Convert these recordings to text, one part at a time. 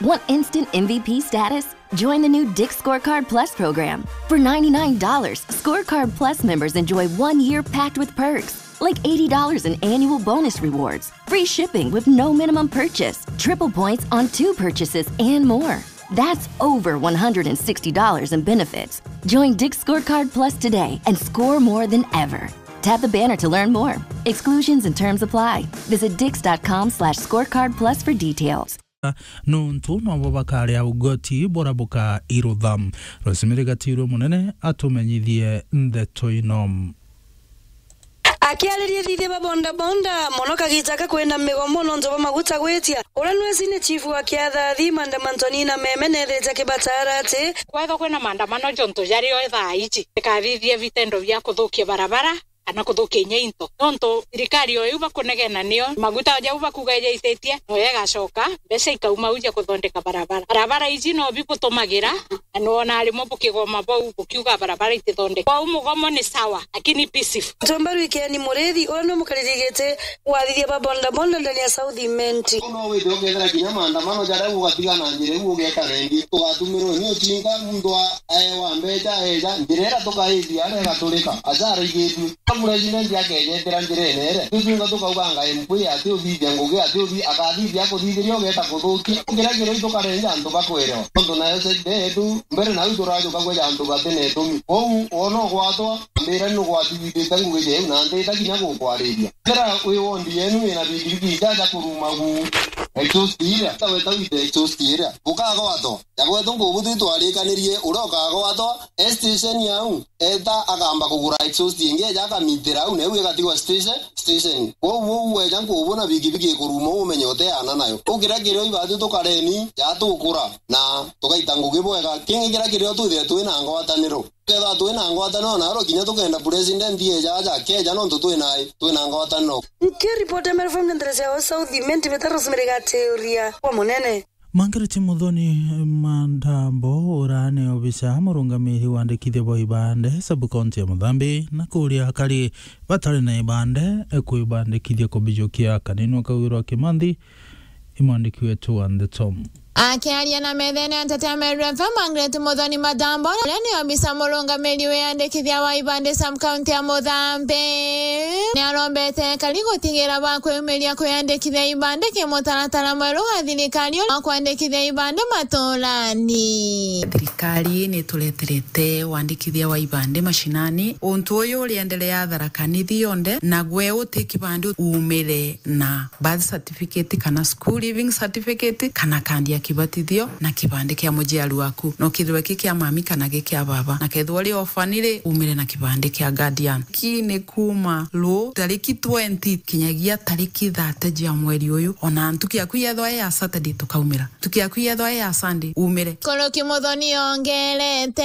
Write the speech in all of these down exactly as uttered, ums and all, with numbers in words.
Want instant M V P status? Join the new Dick's Scorecard Plus program. For ninety-nine dollars, Scorecard Plus members enjoy one year packed with perks, like eighty dollars in annual bonus rewards, free shipping with no minimum purchase, triple points on two purchases, and more. That's over one hundred sixty dollars in benefits. Join Dick's Scorecard Plus today and score more than ever. Tap the banner to learn more. Exclusions and terms apply. Visit dicks.com slash scorecard plus for details. Nontu nobo bakaria ugoti bora bukairutha. Rosemary Gatirwe Munene atumenyithie ndeto ino. Akiariria ithithia ba bodaboda, mono kagiita ka kwina migomo nontu bwa maguta gwitia. Uria nwe senior chief wa Kiathathi, Madam Antonina Meme, neethitie akibatara ati, kwethwa kwina maandamano jontu jario thaa iji, ikathithia vitendo bia kuthukia barabara kana kuthukia inya into. Nontu thirikari o iu bakunegena nio maguta jau bakuga ijaititie, noyo igacoka, mbeca ikauma au ja kuthondeka barabara. Barabara iji no bibutumagira, na nwona rimwe bukigoma bau bukiuga barabara itithondeka. Kwou mugomo ni sawa, lakini peaceful. Tumba Rwikeni Murithi, uria ni mukariri giti wa athithia ba bodaboda ndani ya South Imenti. No withe ukethira kinya maandamano jaria ugatiga na njira iu ugeta rendi. Tugatumirwe ni ucinga, muntu a-, aewa mbeca eja, njira iria tukaithia aria igaturika, aja araigithue. President akejetera njirene ere, tutunga tukauganga M P ati uthithia ngugi, ati uthi-, akathithia akuthithiria ugeta kuthukia. Ngira kiro itu karenja antu bakwerewa. Nontu nayo side yetu, mbere nau turajuka kweja antu bati na itumi. Kwou, wona ugwatwa, ambira ni ugwatithithite ngugi jeu na ntita kinya gukwariria. Kira wi wondi yenu wina bigibigi ijaja kuruma gu exhaust iria, ta weta wite exhaust iria, ukagwatwa. Jagwetwa ngubu twitwarikanirie, uria ukagwatwa, e station yau, eta akamba kugura exhaust ingi, eja akamitira au, neu igatigwa station, station. Kwou uu weja nkubu na bigibigi ikuruma, umenye uteana nayo. Ukira kirio ibatu tukareni, ja tukura, na tugaita ngugi bwega. Kingi kira kirio twithire twina ngwataniro. Kethira twina ngwataniro na aro kinya tukenda president eja aja, akeja nontu twina, twina ngwataniro. Nkiripoti ya Meru F M nderesia wa South Imenti, mbita Rosemary Gateoria kwa Munene. Margaret Muthoni Mandambo, uria ni obisa murungamiri wa wandikithia bwa ibande sub-county ya Muthambi, na kuria akari batari na ibande kwibandikithia kubijukia. Kaninwa Kawirwa Kimanthi, imwandiki wetu wa ndeto. Akiaria na methene ya nteto ya Meru F M, Margaret Muthoni Mandambo, uria ni obisa murungamiri wiyandikithia wa ibande sub-county ya Muthambi, ni arombete akari gutigira ba kwiumiria kwiyandikithia ibande ki mutaratara mweru wa thirikari wa kwandikithia ibande maturani. Thirikari ni itureterete wandikithia wa ibande mashinani. Untu uyu uriendelea Tharaka Nithi yonthe, na gwe uti kibande umire na birth certificate kana school leaving certificate kana kandi ya kibatithio na kibande kia muciari waku. No kithirwe ki kia mami kana gi kia baba. Na kethirwa uri orphan ri, umire na kibande kia guardian. Ki ni kuma ru tariki twenty kinyagia tariki thirty cia mweri uyu. Ona ntuku yaku yethwa i ya Saturday tukaumira. Ntuku yaku yethwa i ya Sunday, umire. Kuruki Muthoni ongerete.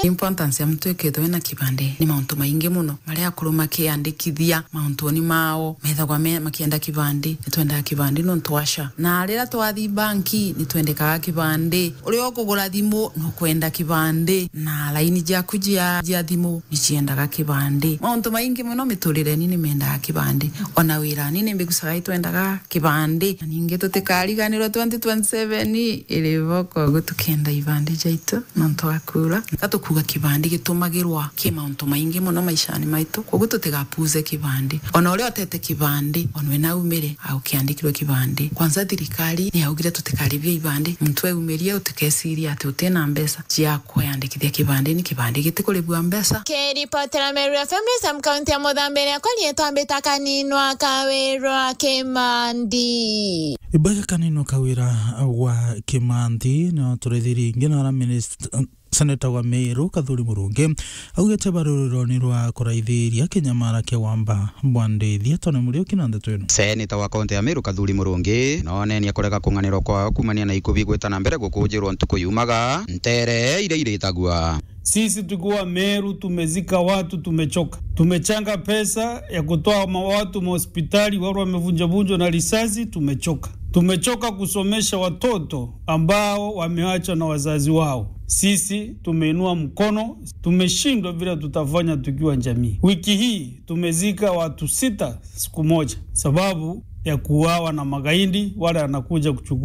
Importance ya muntu ikethwa ena kibande ni mauntu maingi muno. Maria akuru makiandikithia mauntuni mao, methagwa me, makienda kibandi, nitwendaga kibandi nontu wa SHA. Na riria twathi banki, nitwendekaga kibandi. Uria ukugura thimu, nukwenda kibandi. Na laini ciaku cia, cia thimu, niciendaga kibandi. Mauntu maingi muno miturireni nimendaga kibandi. Ona wirani nimbigucaga itwendaga kibandi. Na ningi tutikariganirwe twenty twenty-seven iri boko, uguo tukenda ibandi jaitu. Nontu wa kuura, ka tukuuga kibandi gitumagirwa ki mauntu maingi mono maishani maitu, koguo tutigapuuze kibandi. Ona uria utete kibandi, ona we naumire, aukiandikirwe kibandi. Kwanza thirikari ni yaugire tutikaribie ibandi, muntu eumirie utikesirie ati utina mbeca cia kwiyandikithia kibandi, ni kibandi gitikuribua mbeca. Kiripotera Meru F M, Sam County ya Muthambi, riakwa rietwa Mbita Kaninwa Kawirwa Kimandi. Ibaga Kaninwa Kawira wa Kimanthi, no turethirie ingi na ara minist-, Seneta wa Meru Kathuri Murungi augite bari ruroni rwa kuraithiria kinyamara kia wamba bwa ndithi. Tony Muriuki na ndeto ino. Seneta wa kaunti ya Meru Kathuri Murungi noonenia kurega kung'anirwa kwao kumania na ikubi gwita na mbere gukujirwa ntuku yumaga ntere iria iritagua. Sisi tukiwa Meru tumezika watu, tumechoka. Tumechanga pesa ya kutoa ma-, watu mahospitali, watu wamevunjavunjwa na risasi, tumechoka. Tumechoka kusomesha watoto ambao wameachwa na wazazi wao. Sisi tumeinua mkono, tumeshindwa vile tutafanya tukiwa jamii. Wiki hii tumezika watu sita siku moja sababu ya kuuawa na magaidi wale wanakuja kuchukua